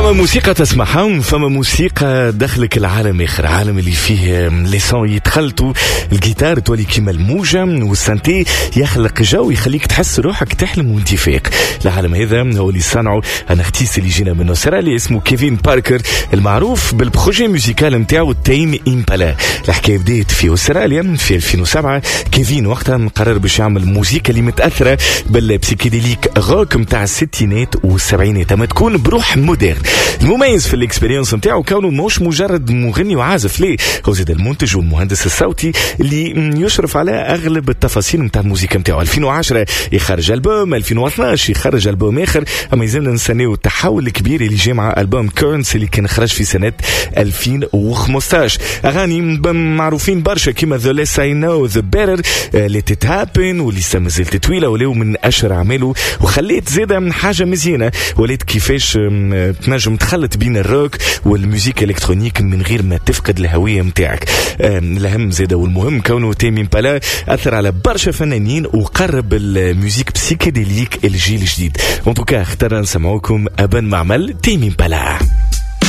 فما موسيقى تسمعها، فما موسيقى دخلك العالم اخر، عالم اللي فيه les sons يتخلطوا، الجيتار تولي كيما الموجه وال synthé يخلق جو يخليك تحس روحك تحلم وانت فايق. العالم هذا هو اللي صنعه un artiste اللي جينا من استراليا اسمه كيفين باركر، المعروف بال projet musical نتاعو Tame Impala. الحكاية بدات في استراليا في 2007. كيفين وقتها قرر باش يعمل موسيقى اللي متاثرة بال psychédélique rock نتاع الستينات والسبعينات، اما تكون بروح moderne. المميز في ال expérience نتاعو كونه مش مجرد مغني وعازف، ليه هو زاد المنتج والمهندس الصوتي اللي يشرف على اغلب التفاصيل نتاع الموسيقى نتاعو. 2010 يخرج البوم، 2012 يخرج البوم اخر، اما يلزمنا نستناو التحول الكبير اللي جا مع البوم Currents اللي كان خرج في سنة 2015. اغاني معروفين برشا كيما The Less I Know The Better، Let It Happen، واللي مازالت طويله، ولاو من اشهر اعماله. وخليت زاده من حاجة مزيانه، وليت كيفاش تنجم تخلط بين ال rock وال musique électronique من غير ما تفقد الهوية نتاعك. الاهم زاده والمهم كونه Tame Impala اثر على برشا فنانين وقرب ال musique psychédélique الجيل الجديد. en tout cas اخترنا نسمعوكم ابن معمل Tame Impala.